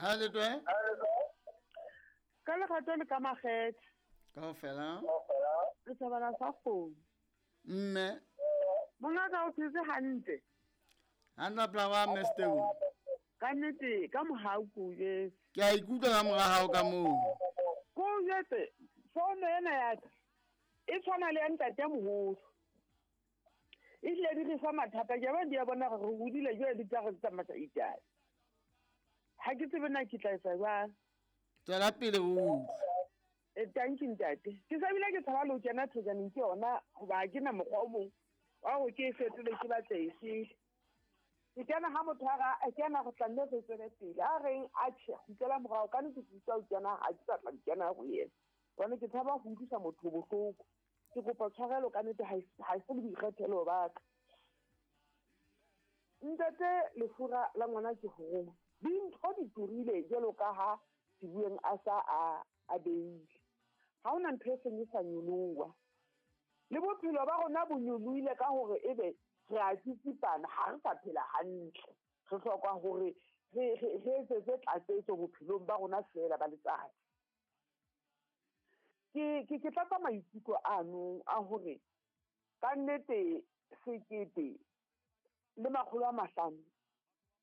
Ha le twe? Ka lerato le ka makgethe. Kaofela. Re thabela sa kgomo. Mme. Mongaka o phetse hantle. Hantle pela wa Mme Steu. Ka nnete ka mohau ko o jwetse. Ke a ikutlwa ka mora hao ka moo. Ko o jwetse fono ena ya ka e tshwana le ya ntate moholo. Ehlile di re fa mathata ke ba di a bona gore re hodile jwale di tla re tsamaisa itae. Ha ke tsebe na ke tla etsa jwang. Tswela pele o utlwe. E tanki ntate. Ke sa bile ke tshaba le ho kena thojaneng ke yona hoba ha ke na mokgwa o mong wa hore ke e fetole ke batle e sele. Ke kena ha motho a re a kena go tla nne re tswele pele. A reng a tjhe kgutlela morao ka nnete ke utlwa o kena ha ke sa tla kena ho yena. Hobane ke tshaba ho utlwisa motho bohloko. Ke kopa tshwarelo ka nnete ha e se le boikgethelo ba ka. Ntate lefura la ngwana ke ho roma. Dintho di turile jwalo ka ha Sebueng a sa a a beile. Ha hona ntho e seng e sa nyoloha. Le bophelo ba rona bo nyolohile ka hore ebe re a tsitsipana ha re sa phela hantle. Re hloka hore re etsetse tlatsetso bophelong ba rona feela ba letsatsi. Ke tlatsa maikutlo ano a hore ka nnete 1500.